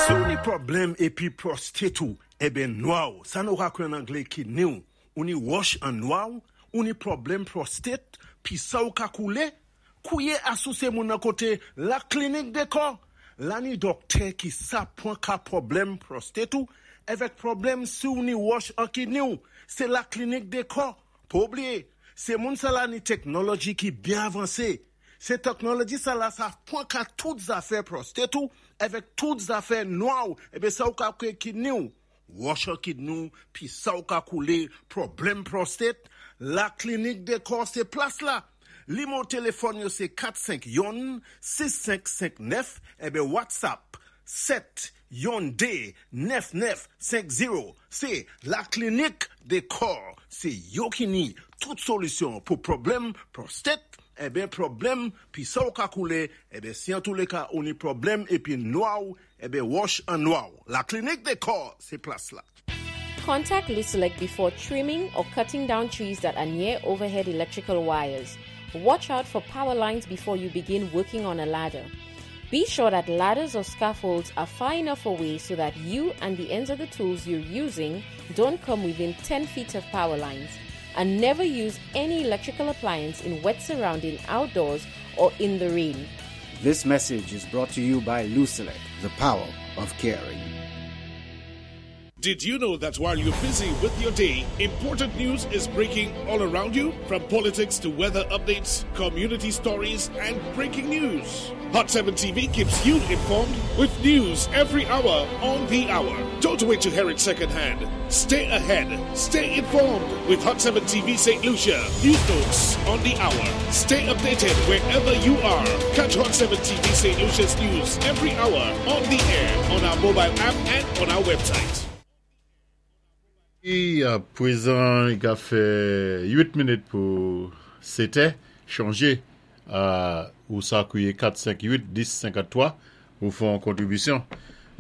Si ou ni pwoblèm épi prostate ou, eben nwa, sa nou ka kwé an anglé kidney ou ni wòch an nwa ou ni pwoblèm prostate, pi sa ou ka koulé, kouwé asou sé moun nan koté La Clinique des Corps. La ni dòktè ki sa pwan ka pwoblèm prostate ou, avèk pwoblèm si ou ni wòch an kidney ou, sé La Clinique des Corps. Pa oubliyé, sé moun sa la ni teknoloji ki byen avansé. Sé teknoloji sa la sa pwan ka tout zafè prostate ou, avèk tout zafè nwa ou, eben sa ou ka kwé kidney ou. Wòch an kidney ou, pi sa ou ka koulé, pwoblèm prostate, La Clinique des Corps sé plas la. Nimewo téléfòn yo sé 451 6559 eben WhatsApp 7 yon 2 9950. Sé La Clinique des Corps. Sé yo ki ni tout solisyon pou pwoblèm prostate, eben pwoblèm pi sa ou ka koulé, eben si an tou lé ka ou ni pwoblèm épi nwa ou, eben wòch an nwa ou. La Clinique des Corps, sé plas la. Contact Lucelec before trimming or cutting down trees that are near overhead electrical wires. Watch out for power lines before you begin working on a ladder. Be sure that ladders or scaffolds are far enough away so that you and the ends of the tools you're using don't come within 10 feet of power lines. And never use any electrical appliance in wet surrounding outdoors or in the rain. This message is brought to you by Lucelec, the power of caring. Did you know that while you're busy with your day, important news is breaking all around you? From politics to weather updates, community stories, and breaking news. Hot 7 TV keeps you informed with news every hour on the hour. Don't wait to hear it secondhand. Stay ahead. Stay informed with Hot 7 TV St. Lucia. News notes on the hour. Stay updated wherever you are. Catch Hot 7 TV St. Lucia's news every hour on the air, on our mobile app, and on our website. A prezan, i ka fè 8 minit pou 7 chanje ou sa kouye 4, 5, 8, 10, 53 pou fè yon kontribisyon.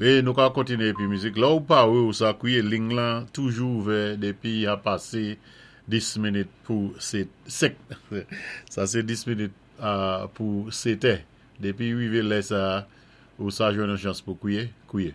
E nou ka kontinye epi mizik. La ou pa ou sa kouye ling lan toujou ouvè depi a pase 10 minit pou 7. Sa sé 10 minit pou 7. Depi rivé lè sa ou sa jwenn yon chans pou kouye, kouye.